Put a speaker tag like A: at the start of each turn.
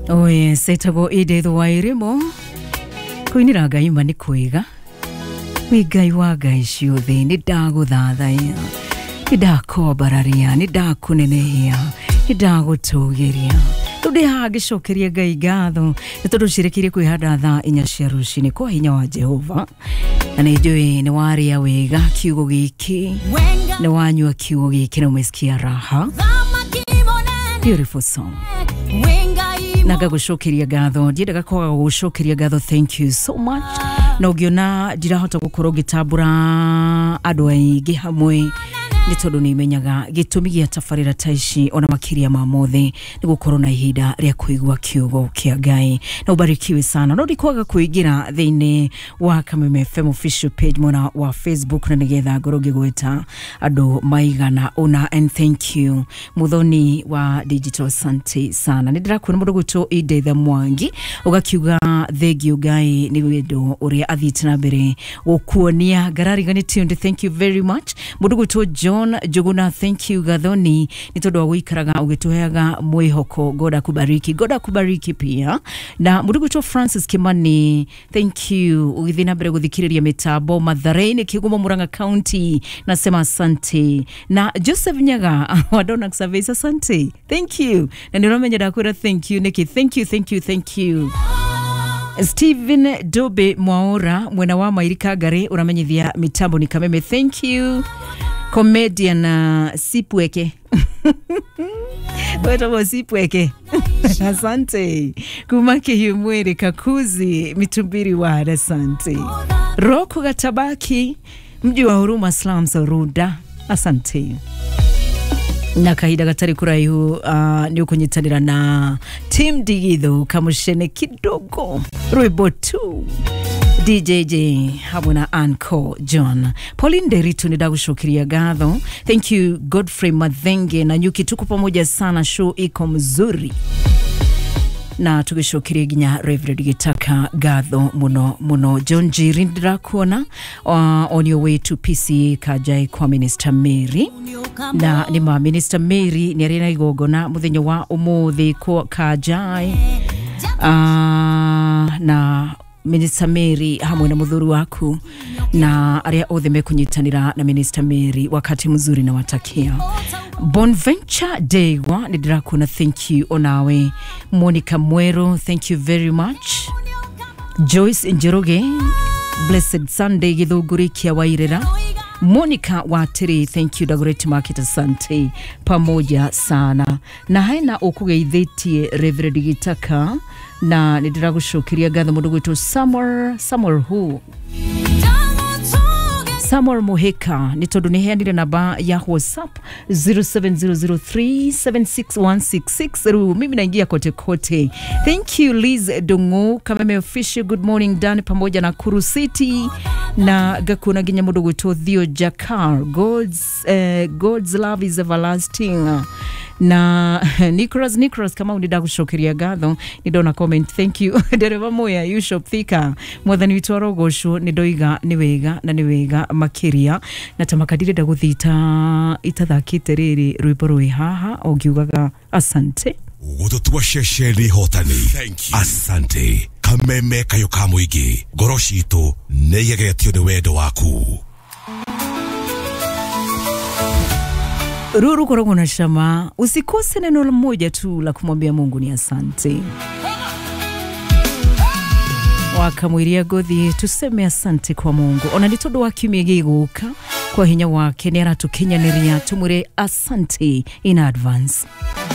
A: Oye, setagwo Edith Wairimu kũinĩra Ngai ma nĩ kwega. Wĩ Ngai wa ngai ciothe, nĩ ndagũthathaiya, nĩ ndakwambararia, nĩ ndakũnenehia, nĩ ndagũtũgĩria. Rĩu ndĩ haha ngĩcokeria Ngai ngatho nĩ tondũ ciĩrĩkĩire kwĩhanda thaa 4 cia rũcinĩ kwa hinya wa Jehova, na nĩ njũĩ nĩ warĩa wega kiugo gĩkĩ, nĩ wanyua kiugo gĩkĩ na umesikia raha. Beautiful song. Na ngagũcokeria ngatho, ndiendaga kwaga gũgũcokeria ngatho. Thank you so much. Na ũngĩona ndirahota gũkorwo ngĩtambũra andũ aingĩ hamwe nĩ tondũ nĩ menyaga gĩtũmi gĩa tabarĩra ta ici ona makĩria ma mothe nĩ gũkorwo na ihinda rĩa kũigua kiugo kĩa Ngai. Na ubarikiwe sana. No ndikwaga kũingĩra thĩinĩ wa Kameme FM official page mwena wa Facebook na nĩgetha ngorwo ngĩgweta andũ maigana ũna. And thank you Muthoni wa digital, asante sana. Nĩ ndĩrakuona mũndũ gwĩtwo Edith Mwangi ũgakiuga thengio Ngai nĩ wendo ũrĩa athiĩte na mbere gũkuonia ngarariganĩtio. Thank you very much. Mũndũ gwĩtwo John Njuguna, thank you Gathoni nĩ tondũ wa gũikaraga ũgĩtũheaga mwĩhoko. God akubariki, God akubariki pia. Na mũndũ gwĩtwo Francis Kimani, thank you ũgĩthiĩ na mbere gũthikĩrĩria mĩtambo Mathare-inĩ, Kĩgumo, Murang'a County, nasema asante. Na Joseph Nyaga wa Donax Service, asante, thank you. Na nĩ ũramenya ndakwĩra thank you nĩkĩ. Thank you, thank you, thank you. Stephen Dobe Mwaora mwena wa Mairi Kagari uramenyithia mitambo ni Kameme, thank you. Comedian Sipweke wetagwo Sipweke, asante. Kuma Kihiu Mwiri Kakuzi Mitumbiri wa, asante. Roku Gatabaki mji wa Huruma Slums Runda, asante. Na kahinda gatari kuraihu nĩ ũkũnyitanĩra na Team Digitho kamushene kidogo rwĩmbo tu DJJ hamwe na Anco John. Pauline Nderitu, nĩ ndagũcokeria ngatho, thank you. Godfrey Mathenge na Nyuki, tuko pamoja sana, show iko mzuri. Na tũgĩcokeria nginya Reverend Gĩtaka ngatho mũno mũno. John Njiri, ndĩrakuona on your way to PCA Kajai kwa Minister Mary, na nĩ ma Minister Mary nĩ arĩ na igongona mũthenya wa ũmũthĩ kwa Kajai, na Minister Mary hamwe na mũthuri waku na arĩa othe mekunyitanĩra na Minister Mary, wakati mzuri na watakia. Bonventure Degwa, nĩ ndĩrakuona, thank you. Onawe Monica Mwero, thank you very much. Joyce Njoroge, blessed Sunday Githũngũri kia Wairĩra. Monica Watiri, thank you. Dagoretti Market, asante, pamoja sana. Na hena ũkũgeithĩtie Reverend Gitaka na nĩ ndĩragũcokeria ngatho. Mũndũ gwĩtwo Samuel, Samuel who? Samuel Muheka, nĩ tondũ nĩ heanire namba ya WhatsApp 0700376166. Rĩu mimi naingia kote kote. Thank you. Liz Dongo, Kameme official, good morning Dan pamoja na Kuru City na gakuna nginya mũndũ gwĩtwo Theo Jakar, God's love is everlasting. Na Nicholas Kamau, nĩ ndagũcokeria ngatho, nĩ ndona comment, thank you. Ndereba Moya Yushop Thika, mwathani witũ arogocwo, nĩ ndoiga nĩ wega na nĩ wega makĩria. Na tamaka ndirenda gũthiĩ itathakĩte rĩrĩ rwĩmbo rwĩ haha o ngiugaga asante.
B: Gũtũtua ceceni hotani. Asante Kameme, kayo ka mũingĩ, ngoro citũ nĩ igegetio nĩ wendo waku.
A: Ruru korogwo na shama, usikose neno moja tu la kumwambia Mungu ni asante. Wakamwiria gothi tuseme asante kwa Mungu ona nĩ tondũ wa kiumia gĩgũka, kwa hinya wake nĩ aratukinyanĩria, tumwĩre asante in advance.